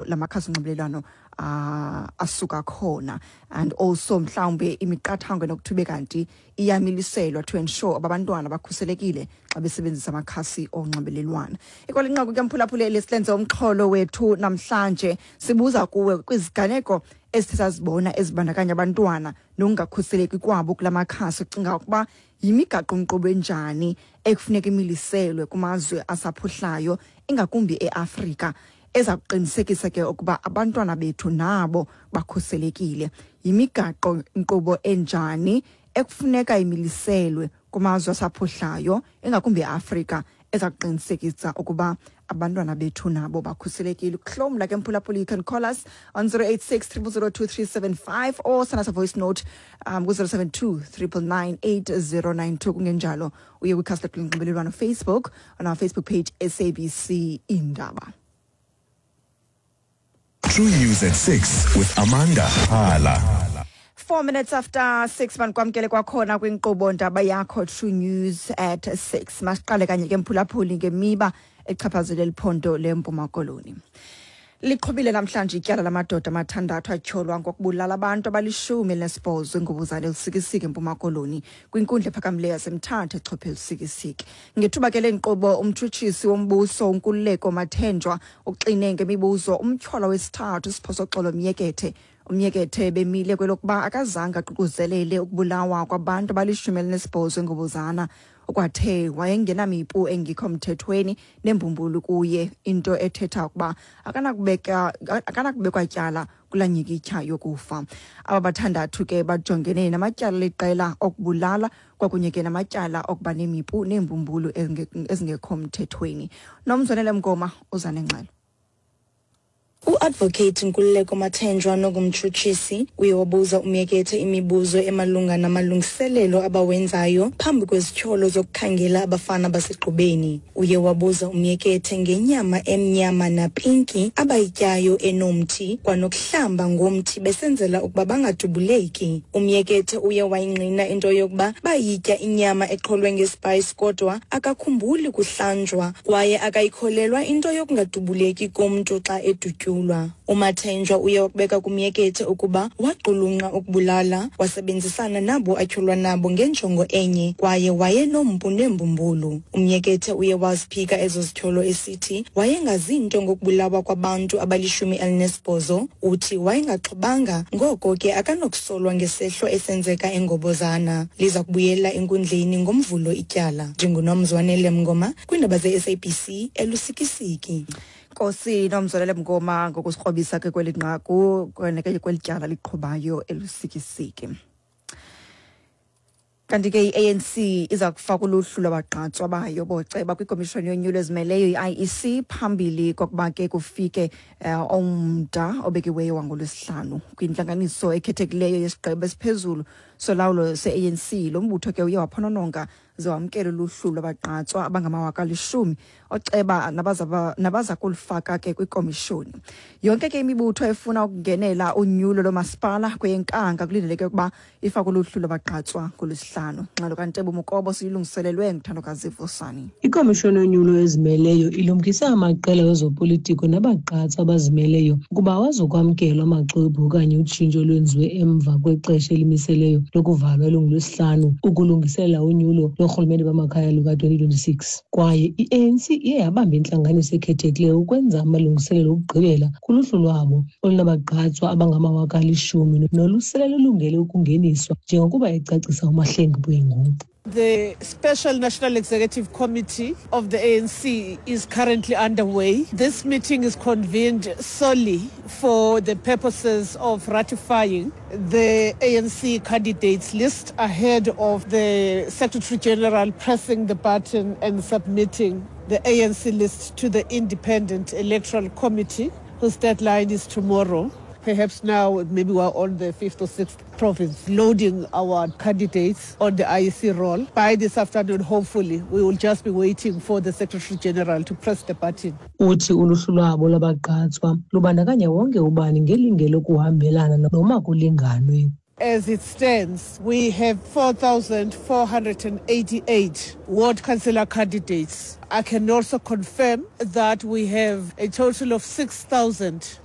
la makhasi onxibelelwano asuka khona, and also mhlawumbe imiqathango enokuthi ube kanti iyamiliselwa to ensure abantwana bakhuselekile xa besebenzisa amakhasi onxibelelwano. Ikwalinqaku ke, mphulaphuleli, silenze umxholo wethu namhlanje. Sibuza kuwe kwiziganeko esithe sazibona ezibandakanya abantwana nokungakhuseleki kwabo kula makhasi, ucinga ukuba yimigaqo-nkqubo enjani ekufuneka imiliselwe kumazwe asaphuhlayo, ingakumbi eAfrika, eza kuqinisekisa ke ukuba abantwana bethu nabo bakhuselekile? Yimigaqo nkqubo enjani ekufuneka imiliselwe kumazwe asaphuhlayo, ingakumbi eAfrika, eza kuqinisekisa ukuba abantwana bethu nabo bakhuselekile? Ukuhlomla ke, mphulaphuli, you can call us on 086 0002375 or send us a voice note ku-072 999 8092. Kungenjalo uye kwikhasi lethu lonxibelelwano Facebook, on our Facebook page, SABC Indaba. True News at 6 with Amanda Hala. 6:04, manikwamkele kwakhona kwinkqubo ndaba yakho, True News at 6. Masiqale kanye ke, mphulaphuli, ngemiba echaphazele liphondo leMpuma Koloni. Liqhubile namhlanje ityala lamadoda amathandathu atyholwa ngokubulala abantu abali-18 eNgobozana eLusikisiki, eMpuma Koloni, kwinkundla ephakamileyo yaseMthatha echophe eLusikisiki. Ngethuba ke le nkqubo, umtshutshisi wombuso uNkululeko Mathenjwa uxine ngemibuzo umtyholwa wesithathu, uSiphosoxolo Myekethe. UMyekethe bemile kwelokuba akazange aququzelele ukubulawa kwabantu abali-18 eNgobozana. Ukwathe wayengenamipu engekho mthethweni nembumbulu kuye, into ethetha ukuba akanakubekwa tyala kulaa nyhikityha yokufa. Aba bathandathu ke bajongene namatyala liqela okubulala kwakunye ke namatyala okuba nemipu neembumbulu ezingekho mthethweni. Nomzwanele Mngoma uza nengxelo. U-Advocate Nkululeko Mathenjwa nongumtshutshisi uye wabuza uMyekethe imibuzo emalunga namalungiselelo abawenzayo phambi kwezityholo zokukhangela abafana baseGqubeni. Uye wabuza uMyekethe ngenyama emnyama napinki abayityayo enomthi, kwanokuhlamba ngomthi besenzela ukuba bangadubuleki. UMyekethe uye wayingqina into yokuba bayitya inyama eqholwe ngespice, kodwa akakhumbuli kuhlanjwa kwaye akayikholelwa into yokungadubuleki komntu xa edutyulwa. UMathenjwa uye wakubeka kuMyekethe ukuba waqulunqa ukubulala, wasebenzisana nabo atyholwa nabo ngenjongo enye, kwaye wayenompu neembumbulu. UMyekethe uye waziphika ezo zityholo esithi wayengazi nto ngokubulawa kwabantu abali-18. Uthi wayengaxhobanga, ngoko ke akanokusolwa ngesehlo esenzeka eNgobozana. Liza kubuyela enkundleni ngoMvulo ityala. NdinguNomzwanele Mngoma kwiindaba ze-SABC eLusikisiki. Nkosi Nomzwanele Mngoma ngokusikrobisa ke kweli nqaku kweli tyala liqhubayo eLusikisiki. Kanti ke i-ANC iza kufaka uluhlu lwabagqatswa bayo boceba kwikomishoni yonyulo ezimeleyo, i-IEC, phambili kokuba ke kufike umda obekiweyo wangoLwesihlanu. Kwintlanganiso ekhethekileyo yesigqeba esiphezulu solawulo se-ANC, lo mbutho ke uye waphonononga ze wamkela uluhlu lwabagqatswa abangama-10,000 oceba nabaza kulufaka ke kwikomishoni. Yonke ke imibutho efuna ukungenela unyulo lomasipala kweyeNkanga kulindeleke ukuba ifake uluhlu lwabagqatswa ngoLwesihlanu. Ngxelo kaNtebo Mukobo siyilungiselelwe nguThandokazi Vusani. Ikomishoni yonyulo ezimeleyo ilumkisa amaqela wezopolitiko nabagqatswa abazimeleyo ukuba awazokwamkelwa amaxwebhu okanye utshintsho olwenziwe emva kwexesha elimiseleyo lokuvalwa elunguLwesihlanu ukulungiselela unyulo loorhulumente bamakhaya luka-2026. Kwaye i-ANC iye yabamba intlanganiso ekhethekileyo ukwenza amalungiselelo okugqibela kuluhlu lwabo olunabagqatswa abangama-10,000 nolusele lulungele ukungeniswa, njengokuba ecacisa uMahlengi Bwengu. The Special National Executive Committee of the ANC is currently underway. This meeting is convened solely for the purposes of ratifying the ANC candidates list ahead of the Secretary General pressing the button and submitting the ANC list to the Independent Electoral Committee, whose deadline is tomorrow. Perhaps now, maybe we're on the fifth or sixth province, loading our candidates on the IEC roll. By this afternoon, hopefully, we will just be waiting for the Secretary General to press the button. Uthi uluhlu lwabo lwabagqatswa lubandakanya wonke ubani ngelinge lokuhambelana noma kulinganwe. As it stands, we have 4,488 ward councillor candidates. I can also confirm that we have a total of 6,000